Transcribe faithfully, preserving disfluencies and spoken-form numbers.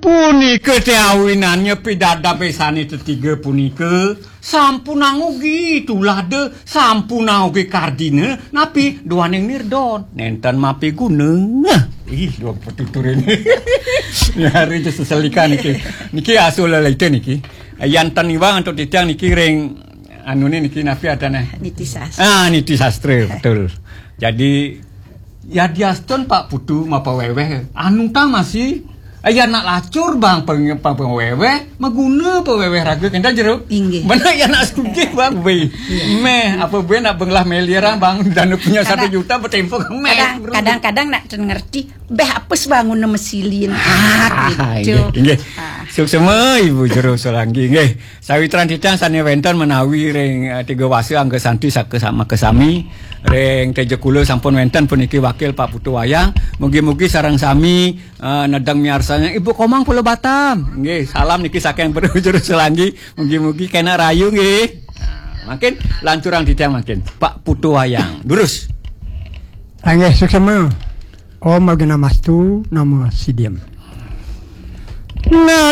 Punika té awinannya pidabdabé sané tetiga punika sampunang ugi tulada, sampunang ugi kardina, napi duaning nirdon. Nénten mapiguna. Ih, dua petuturin. Ya, hari itu seselikan niki. Niki asul lelita niki. Yan ten iwang antuk titiang niki ring anu niki napi adané? Niti sastra. Ah, niti sastra, betul. Jadi, ya diastun Pak Putu mapawéwéh. Anu tang masih, eh, ya nak lacur bang peng, peng, pawéwéh, maguna pawéwéh raga kénten jero. Inggih. Bener ya nak setuju bang, wéh. Méh, apa buin nak benglah miliaran bang, dana punya satu juta bertempo ke méh. Kadang, kadang-kadang nak ngerti, béh apes bangun mesilin. Ah, gitu. Inggih, inggih. Suksema Ibu Jero Solanggi, inggih. Sawitran titiang sané wénten menawi ring, eh, Tiga Wasa Angga Santi saka sama kesami, ring Teja Kula sampun wénten puniki wakil Pak Putu Wayang. Mugi-mugi sareng sami, eh, nedeng miarsanya Ibu Komang Pulau Batam. Nggih, salam niki saking Jero Solanggi. Mugi-mugi kena rayu nggih. Nah, mangkin lanturang titiang mangkin. Pak Putu Wayang. Durus. Inggih, suksema. Om Awighnamastu Namo Siddham. Nah,